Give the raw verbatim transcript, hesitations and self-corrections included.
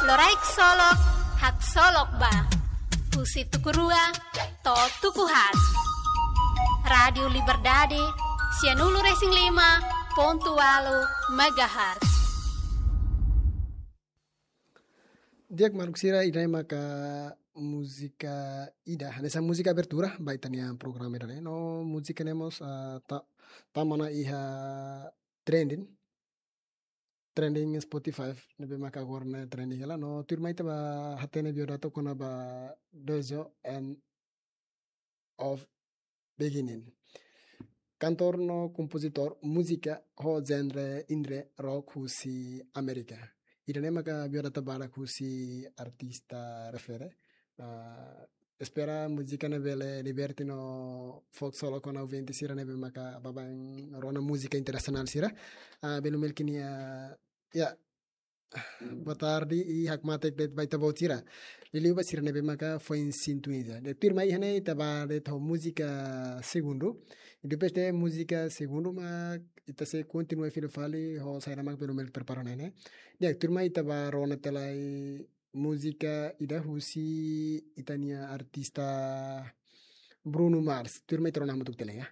Loraik Solok, haksolok ba. Husi tuku rua to'o tuku haat. Rádiu Liberdade, sianulu-resin-lima pontu ualu megahertz. Di'ak maluk sira, ida-ne'e maka múzika ida, hanesan múzika abertura ba ita-nia programa ida-ne'e. No múzika ne'e mós, ah, ta-, tama ona iha trending, trending Spotify, ne'ebé maka agora ne'e trending hela. No tuirmai ita bá hatene biodata kona-ba Dojo and of Beginning. Kantór no kompozitór múzika ho genre indie rock husi Amérika. Ida-ne'e maka biodata badak husi artista refere. Ah, espera múzika ne'e bele liberta no fó haksolok ona ouvinte sira ne'ebé maka baibain rona múzika internasionál sira. Ah, belun Melkin, ah, ya, boa tarde i hakmatek de'it ba ita-boot sira. Liuliu ba sira ne'ebé maka foin sintonia. Di'ak, tuirmai iha ne'e ita bá de'it ho múzika segundu. I depois de múzika segundu mak ita sei kontinua fila fali ho saida mak belun Melkin prepara ona ne'e. Di'ak, tuirmai ita bá rona tiha lai múzika ida husi ita-nia artista Bruno Mars. Tuirmai ita rona hamutuk tiha lai, ya.